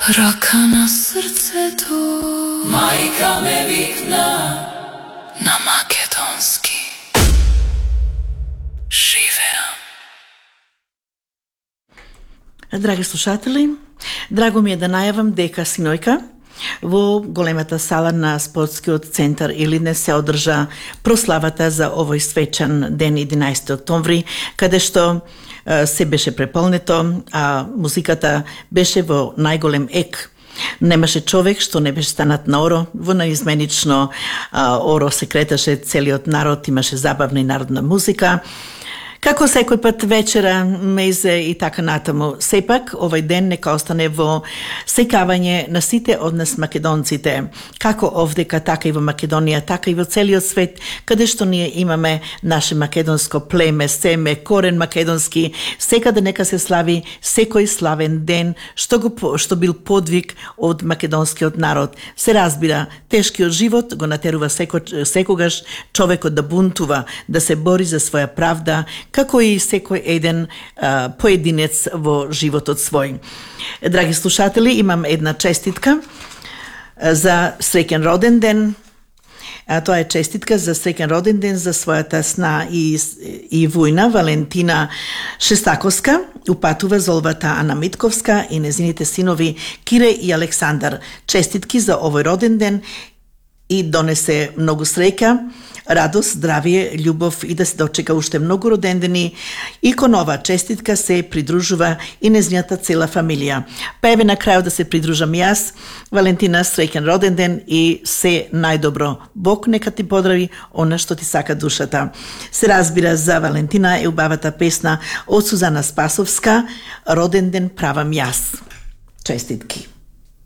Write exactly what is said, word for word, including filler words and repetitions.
Рака на срцето, мајка ме викна на македонски. Живеам. Драги слушатели, драго ми е да најавам дека синојка во големата сала на спортскиот центар Илине се одржа прославата за овој свечан ден единаесети октомври, каде што се беше преполнето, а музиката беше во најголем ек. Немаше човек што не беше станат на оро, во наизменично а, оро се креташе целиот народ, имаше забавна и народна музика. Како секој пат вечера, мезе и така натаму. Сепак, овој ден нека остане во сеќавање на сите од нас македонците, како овдека, така и во Македонија, така и во целиот свет, каде што ние имаме наше македонско племе, семе, корен македонски, секаде нека се слави секој славен ден, што го што бил подвиг од македонскиот народ. Се разбира, тешкиот живот го натерува секо, секогаш човекот да бунтува, да се бори за своја правда, како и секој еден а, поединец во животот свој. Драги слушатели, имам една честитка за среќен роден ден. А, тоа е честитка за среќен роден ден за својата сна и, и војна Валентина Шестаковска. Упатува золвата Ана Митковска и незините синови Кире и Александар. Честитки за овој роден ден и донесе многу среќа, радост, здравие, љубов и да се дочека уште многу родендени. И кон ова честитка се придружува и незината цела фамилија. Па еве на крајот да се придружам и јас. Валентина, среќен роден ден и се најдобро. Бог нека ти подрави она што ти сака душата. Се разбира, за Валентина е убавата песна од Сузана Спасовска, Роден ден правам јас. Честитки.